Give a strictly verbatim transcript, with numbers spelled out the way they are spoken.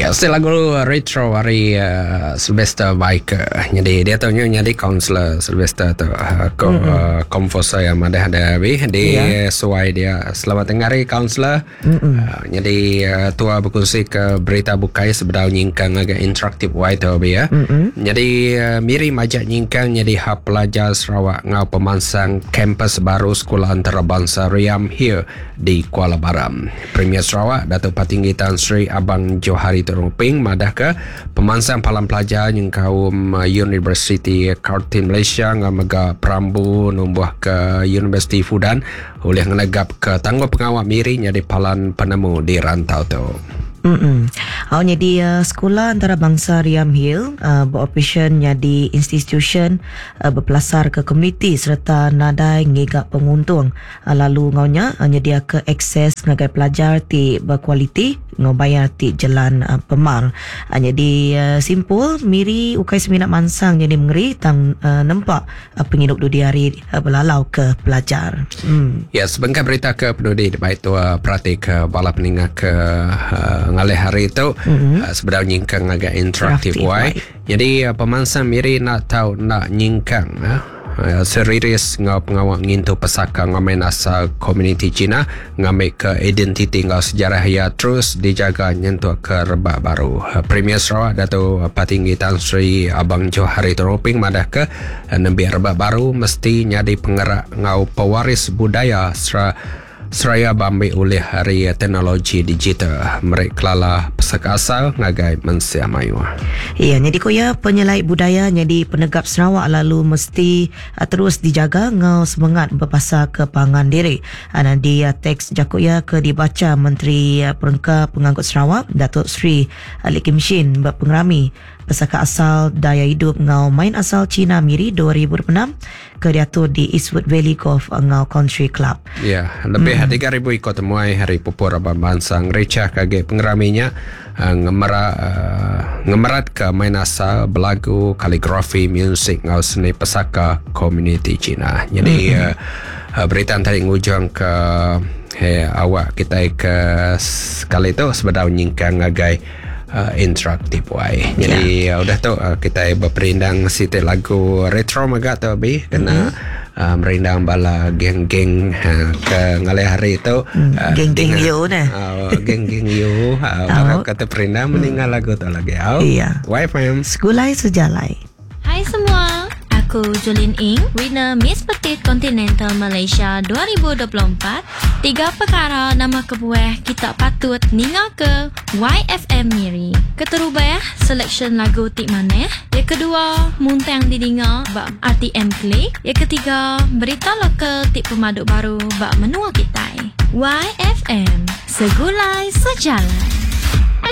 Ya, yeah, lagu retro hari uh, Sylvester Biker. Jadi dia tu jadi kaunselor Sylvester tu uh, ko, mm-hmm. uh, komposer yang ada ada bi di yeah. Suai dia. Selamat tengah hari kaunselor. Mm-hmm. Uh, jadi uh, tua berkongsi ke berita bukai sebedau nyingkang agak interaktif wai tu bi ya. Mm-hmm. Jadi uh, Miri majak nyingkang jadi hub pelajar Sarawak ngau pemansang kampus baru Sekolah Antarabangsa Riam Hill di Kuala Baram. Premier Sarawak Datuk Patinggi Tan Sri Abang Johari Tun Openg madah ke pemansang palam pelajar yang kaum University Curtin Malaysia ngau mega perambu numbuh ke University Fudan oleh ngenegap ke tangguh pengawal Miri jadi palan penemu di rantau tu. Mm-mm. Oh, jadi uh, sekolah antarabangsa Riam Hill uh, beroperasi jadi institution uh, berpelasar ke komuniti serta nadai ngigak penguntung uh, lalu ngaunya uh, nyedia ke akses ngagai pelajar ti berkualiti ngau bayar ti jalan uh, pemar. Uh, jadi uh, simpul Miri ukai seminat mansang jadi mengeri tang uh, nempak uh, penghidup dudi hari uh, belalau ke pelajar. Mm. Ya, sebengkah berita ke pendudi baik tu uh, perhati ke bala peningah ke uh, ngalih hari itu mm-hmm. uh, sebedau nyingkang agak interaktif wai. Jadi uh, pemansang Miri nak tahu nak nyingkang uh, uh, seriris ngau pengawal ngintu pesaka ngamen asal komuniti Cina ngambil ke identiti ngau sejarah ya terus dijaga nyentuh ke rebak baru. Uh, Premier Sarawak Datuk Patinggi Tan Sri Abang Johari Tun Openg madah ke uh, nembiak rebak baru mesti nyadi pengerak ngau pewaris budaya serta seraya bambi oleh hari teknologi digital mereka kelala pesaka asal ngagai mensia mayu. Ya, jadi koya penyelai budaya jadi penegap Sarawak lalu mesti uh, terus dijaga ngau semangat berpasar ke pangan diri. Uh, di uh, teks jakoya ke dibaca Menteri uh, Perengka Pengangkut Sarawak Datuk Seri uh, Lee Kim Shin berpengerami pesaka asal daya hidup ngau main asal Cina Miri dua ribu dua puluh enam ke diatur di Eastwood Valley Golf ngau Country Club. Ya, lebih mm. tiga ribu ikut temuai hari pupur abang bangsa ngrecah kage pengeraminya uh, ngemera uh, ngemerat ke main asal belagu kaligrafi musik ngau seni pesaka komuniti Cina. Jadi mm. uh, uh, berita tadi ngujung ke hey, awak kita ke sekali tu sebedau nyingkang ngagai Uh, interaktif wai. Jadi yeah. uh, udah tu uh, kita berperindang siti lagu retro maga tu bi kena mm-hmm. uh, merindang bala geng-geng uh, ke ngalih hari tu mm. uh, geng-geng yo nah. Uh, geng-geng yo uh, baru kata perindang mm. meninggal lagu tu lagi. Oh. Iya. Y F M. Segulai sejalai. Hai semua. Aku Jolin Ing, winner Miss Petit Continental Malaysia dua ribu dua puluh empat. Tiga perkara nama kebuah kita patut ninga ke Y F M Miri. Keterubah, selection lagu tik maneh. Yang kedua, muntang didinga bak R T M Click. Yang ketiga, berita lokal tik pemaduk baru bak menua kita. Y F M, segulai sejalan.